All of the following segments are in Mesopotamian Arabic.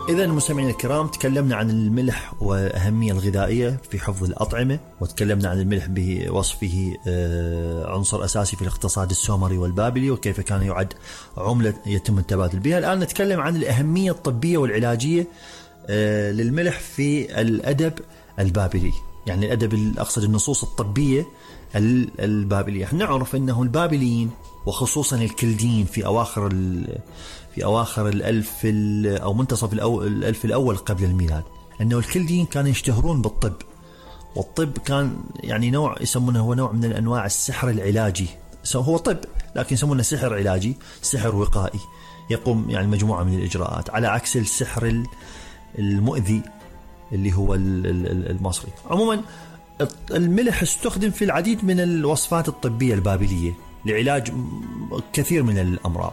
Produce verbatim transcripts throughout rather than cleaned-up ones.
إذا مستمعينا الكرام، تكلمنا عن الملح وأهمية الغذائية في حفظ الأطعمة، وتكلمنا عن الملح بوصفه عنصر أساسي في الاقتصاد السومري والبابلي، وكيف كان يعد عملة يتم التبادل بها. الآن نتكلم عن الأهمية الطبية والعلاجية للملح في الأدب البابلي، يعني الأدب أقصد النصوص الطبية البابلية. نعرف أنه البابليين وخصوصا الكلديين في أواخر في أواخر الألف أو منتصف الألف الأول قبل الميلاد، أنه الكلديين كانوا يشتهرون بالطب، والطب كان يعني نوع يسمونه هو نوع من الأنواع السحر العلاجي. هو طب لكن يسمونه سحر علاجي، سحر وقائي، يقوم يعني مجموعة من الإجراءات على عكس السحر المؤذي اللي هو المصري. عموما الملح استخدم في العديد من الوصفات الطبية البابلية لعلاج كثير من الأمراض.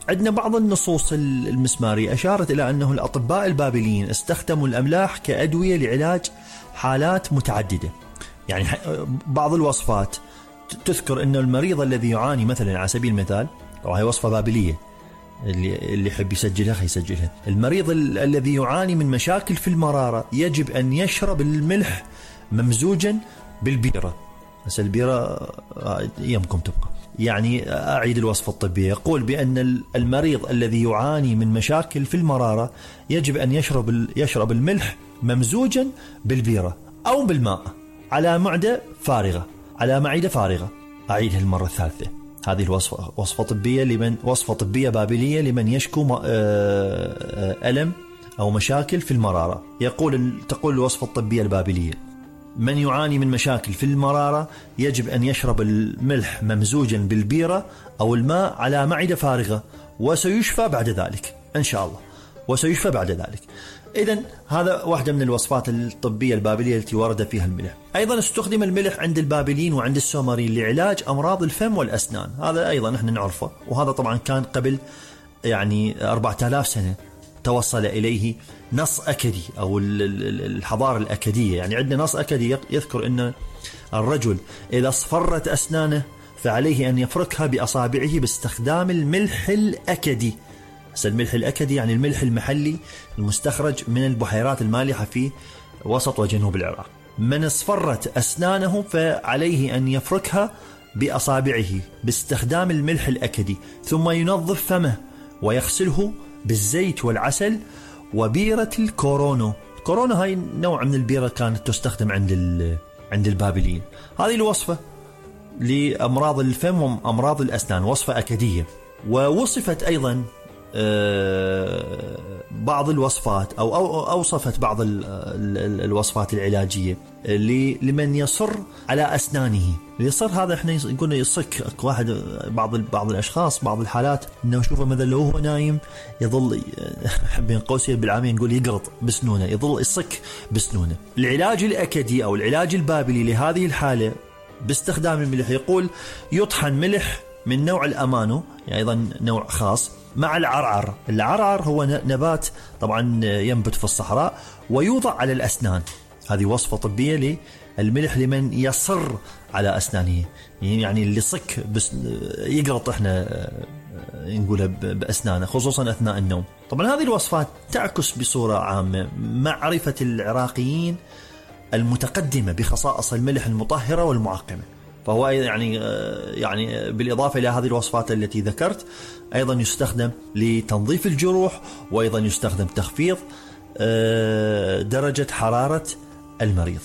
عندنا بعض النصوص المسمارية أشارت إلى أنه الأطباء البابليين استخدموا الأملاح كأدوية لعلاج حالات متعددة. يعني بعض الوصفات تذكر أن المريض الذي يعاني مثلا على سبيل المثال، وهي وصفة بابلية اللي اللي يحب يسجلها خيسجلها، المريض الذي يعاني من مشاكل في المرارة يجب أن يشرب الملح ممزوجا بالبيرة. بس البيرة يمكن تبقى. يعني أعيد الوصفة الطبية، يقول بأن المريض الذي يعاني من مشاكل في المرارة يجب أن يشرب يشرب الملح ممزوجا بالبيرة أو بالماء على معدة فارغة على معدة فارغة. أعيدها المرة الثالثة. هذه الوصفة وصفة طبية لمن وصفة طبية بابلية لمن يشكو ألم أو مشاكل في المرارة. يقول تقول الوصفة الطبية البابلية: من يعاني من مشاكل في المرارة يجب أن يشرب الملح ممزوجا بالبيرة أو الماء على معدة فارغة، وسيشفى بعد ذلك إن شاء الله، وسيشفى بعد ذلك. إذن هذا واحدة من الوصفات الطبية البابلية التي ورد فيها الملح. أيضا استخدم الملح عند البابليين وعند السومريين لعلاج أمراض الفم والأسنان. هذا أيضا نحن نعرفه، وهذا طبعا كان قبل يعني أربعة آلاف سنة توصل إليه نص أكدي أو الحضارة الأكدية. يعني عندنا نص أكدي يذكر أن الرجل إذا اصفرت أسنانه فعليه أن يفركها بأصابعه باستخدام الملح الأكدي. الملح الأكدي يعني الملح المحلي المستخرج من البحيرات المالحة في وسط وجنوب العراق. من اصفرت أسنانه فعليه أن يفركها بأصابعه باستخدام الملح الأكدي، ثم ينظف فمه ويغسله بالزيت والعسل وبيرة الكورونو. الكورونو هاي نوع من البيرة كانت تستخدم عند عند البابليين. هذه الوصفة لأمراض الفم وأمراض الأسنان، وصفة أكدية. ووصفت أيضا بعض الوصفات أو أوصفت بعض الوصفات العلاجية لمن يصر على أسنانه. يصر هذا احنا نقول يصك واحد، بعض بعض الأشخاص بعض الحالات إنه يشوفه مثلا لو هو نايم يظل بين قوسين بالعامية نقول يقرط بسنونه، يظل يصك بسنونه. العلاج الأكدي أو العلاج البابلي لهذه الحالة باستخدام الملح، يقول يطحن ملح من نوع الأمانو، يعني أيضا نوع خاص، مع العرعر. العرعر هو نبات طبعا ينبت في الصحراء ويوضع على الأسنان. هذه وصفة طبية للملح لمن يصر على أسنانه، يعني اللي صك بس يقرط احنا نقولها بأسنانه خصوصا أثناء النوم. طبعا هذه الوصفات تعكس بصورة عامة معرفة العراقيين المتقدمة بخصائص الملح المطهرة والمعقمة. فهو يعني يعني بالإضافة إلى هذه الوصفات التي ذكرت أيضا يستخدم لتنظيف الجروح، وأيضا يستخدم تخفيض درجة حرارة المريض.